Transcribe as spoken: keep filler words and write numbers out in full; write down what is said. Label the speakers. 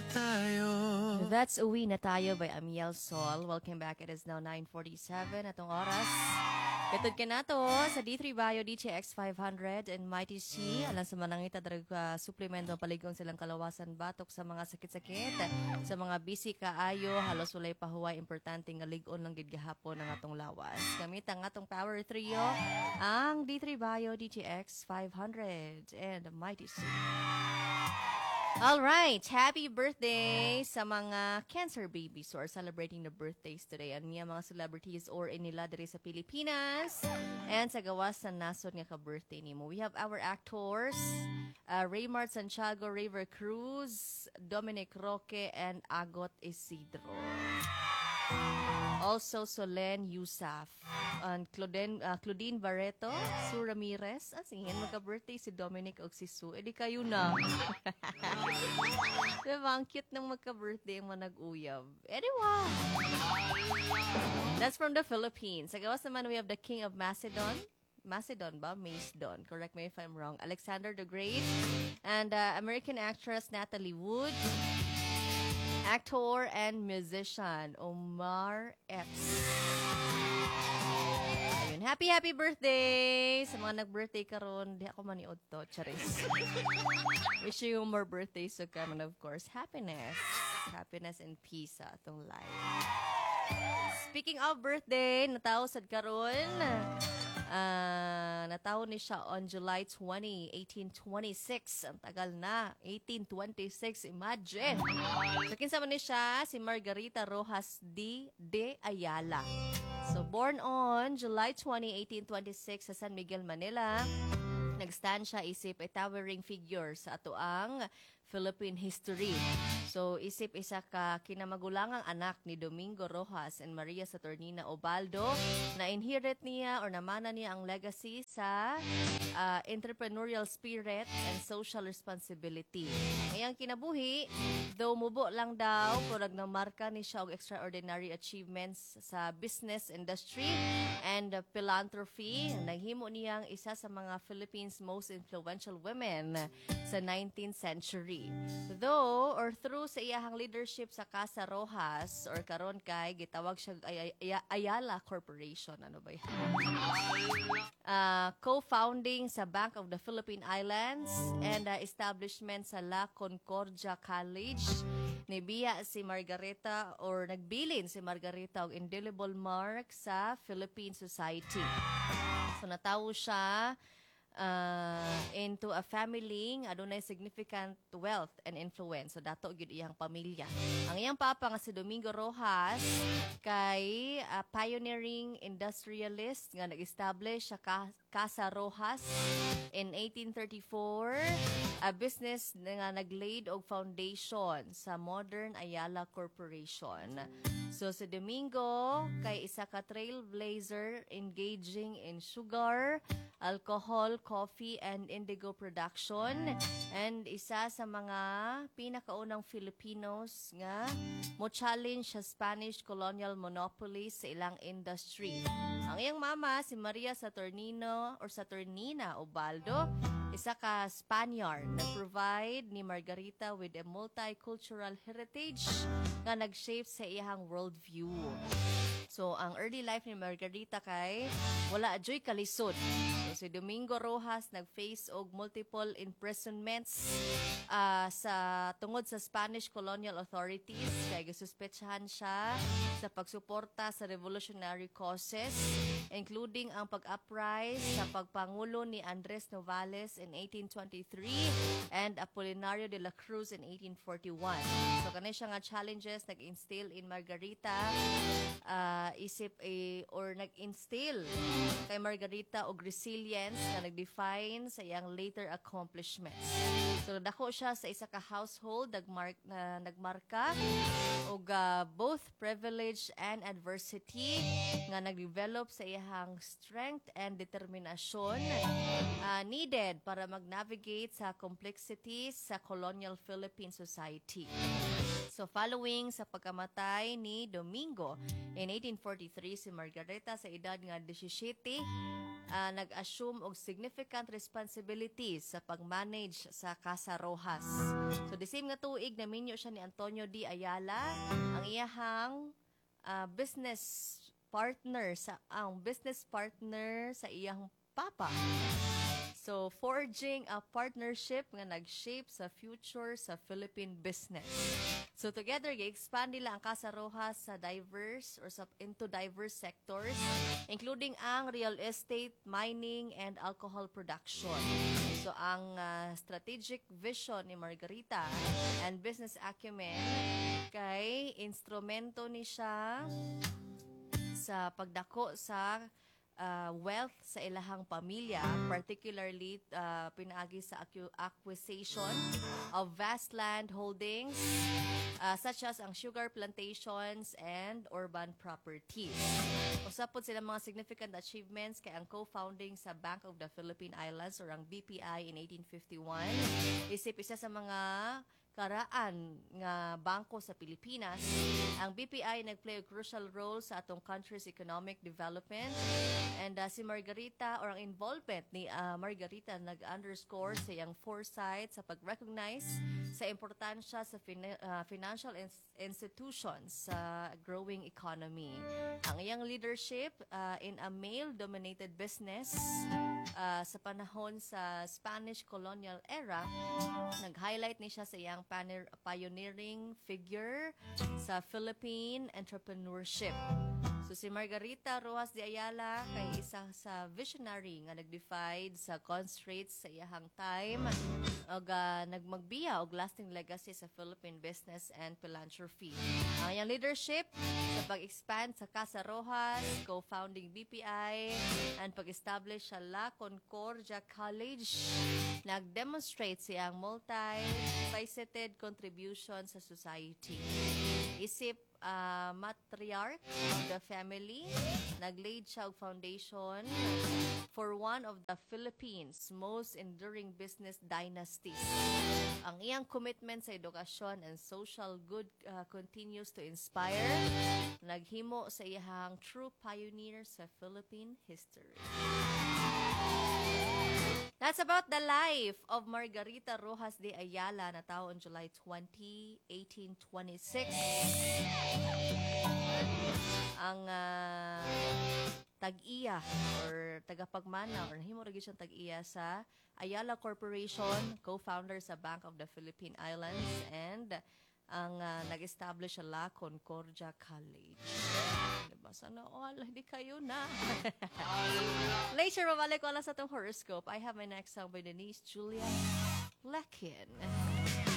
Speaker 1: tayo.
Speaker 2: That's Uwi na Tayo by Amiel Sol. Welcome back. It is now nine forty-seven atong oras. Katod ka na to sa D three Bio D T X five hundred and Mighty C. Alang sa manangita drag uh, suplemento palig-on silang kalawasan batok sa mga sakit-sakit. Sa mga busy kaayo, halos walay pahuway, importante nga lig-on lang gid gahapon ang atong lawas. Gamit ang atong Power Trio, ang D three Bio D T X five hundred and Mighty C. All right, happy birthday sa mga cancer babies who are celebrating the birthdays today. Ano niya mga celebrities or inila diri sa Pilipinas and sa gawas sa nasod nga ka-birthday nimo. We have our actors, uh, Raymart Santiago, River Cruz, Dominic Roque, and Agot Isidro. Also, Solen Yusaf. And Claudine, uh, Claudine Barreto, Sue Ramirez. Ah, sige, magka-birthday si Dominic og si Sue. Eh, di kayo na. Diba? Ang cute ng magka-birthday ang mga nag-uyab. Anyway. That's from the Philippines. Sa gawas naman, we have the King of Macedon. Macedon ba? Macedon. Correct me if I'm wrong. Alexander the Great. And uh, American actress Natalie Wood. Actor and musician Omar Epps. Ayun. Happy, happy birthday! Sa mga nag-birthday karon, di ako maniod to. Charis. Wish you more birthdays to come and, of course, happiness. Happiness and peace sa atong life. Speaking of birthday, natawo sad karon. Ah, natawo ni siya on July twenty, eighteen twenty-six. Ang tagal na. eighteen twenty-six, imagine. So, kinsa man ni siya? Si Margarita Rojas D. de Ayala. So, born on July twenty, eighteen twenty-six sa San Miguel, Manila. Nag-stand siya isip a towering figure sa atoang Philippine history. So, isip isa ka kinamagulangang anak ni Domingo Rojas and Maria Saturnina Obaldo na inherit niya or namana niya ang legacy sa uh, entrepreneurial spirit and social responsibility. Ngayang kinabuhi, though mubo lang daw, purag namarka ni siya og extraordinary achievements sa business industry and uh, philanthropy. Naghimo niyang isa sa mga Philippines' most influential women sa nineteenth century. Though, or through sa iyahang leadership sa Casa Rojas, or karon kay gitawag siya ay, ay, Ayala Corporation. Ano ba yan? Uh, co-founding sa Bank of the Philippine Islands and uh, establishment sa La Concordia College. Nibiya si Margarita or nagbilin si Margarita og indelible mark sa Philippine society. So natawo siya uh, into a family nga adunay significant wealth and influence. So dato gyud iyang pamilya. Ang iyang papa nga si Domingo Rojas kay uh, pioneering industrialist nga nag-establish sa Ca- Casa Rojas in eighteen thirty-four, a business nga naglaid og foundation sa modern Ayala Corporation. So si Domingo kay isa ka trailblazer engaging in sugar, alcohol, coffee, and indigo production and isa sa mga pinakaunang Filipinos nga mo challenge sa Spanish colonial monopoly sa ilang industry. Ang iyang mama si Maria Saturnino or Saturnina Obaldo, isa ka Spaniard, nag-provide ni Margarita with a multicultural heritage nga nag-shape sa iyang worldview. So, ang early life ni Margarita kay wala joy kalisod. So, si Domingo Rojas nag-face og multiple imprisonments ah, sa tungod sa Spanish colonial authorities kay gisuspetsahan siya sa pagsuporta sa revolutionary causes, including ang pag-uprise sa pagpangulo ni Andres Novales in eighteen twenty-three and Apolinario de la Cruz in eighteen forty-one. So kani siya nga challenges nag-instill in Margarita ah, isip a or nag-instill kay Margarita og resilience nga nag-define sa iyang later accomplishments. So dako siya sa isa ka household nagmark na nagmarka og ah, both privilege and adversity nga nag-develop sa iyang strength and determinasyon ah, needed para mag-navigate sa complexities sa colonial Philippine society. So following sa pagkamatay ni Domingo in eighteen forty-three, si Margarita sa edad nga labing-siyam ah, nag-assume og significant responsibilities sa pag-manage sa Casa Rojas. So the same nga tuig naminyo siya ni Antonio D. Ayala, ang iyahang ah, business partner sa ang business partner sa iyang papa. So, forging a partnership nga nag-shape sa future sa Philippine business. So, together, gi-expand nila ang Casa Rojas sa diverse or sa, into diverse sectors, including ang real estate, mining, and alcohol production. So, ang ah, strategic vision ni Margarita and business acumen kay instrumento ni siya sa pagdako sa uh, wealth sa ilahang pamilya, particularly uh, pinaagi sa accu- acquisition of vast land holdings uh, such as ang sugar plantations and urban properties. Usa pod sila mga significant achievements kay ang co-founding sa Bank of the Philippine Islands or ang B P I in eighteen fifty-one. Isip isa sa mga karaan nga bangko sa Pilipinas. Ang B P I nag-play a crucial role sa atong country's economic development and uh, si Margarita or ang involvement ni uh, Margarita nag-underscore sa iyang foresight sa pag-recognize sa importansya sa fin- uh, financial ins- institutions sa growing economy. Ang iyang leadership uh, in a male-dominated business uh, sa panahon sa Spanish colonial era, nag-highlight ni siya sa iyang paner- pioneering figure sa Philippine entrepreneurship. So si Margarita Rojas de Ayala kay isa sa visionary nga nag-defy sa constraints sa iyahang time ug uh, nagmagbiya og lasting legacy sa Philippine business and philanthropy. Ang iyang leadership sa pag-expand sa Casa Rojas, co-founding B P I, and pag-establish sa La Concordia College, nag-demonstrate siyang multi-faceted contribution sa society. Isip uh, matriarch of the family, naglaid siya og foundation for one of the Philippines' most enduring business dynasties. Ang iyang commitment sa edukasyon and social good uh, continues to inspire. Naghimo sa iyang true pioneer sa Philippine history. That's about the life of Margarita Rojas de Ayala, natawo on July twenty, eighteen twenty-six. Ang ah, tag-iya or tagapagmana or nahimo ra gyud siyang tag-iya sa Ayala Corporation, co-founder sa Bank of the Philippine Islands and ang ah, nag-establish sa La Concordia College. Diba? Sana all, hindi kayo na. Later, mabalik ko lang sa itong horoscope. I have my next song by Denise Julia Lekin.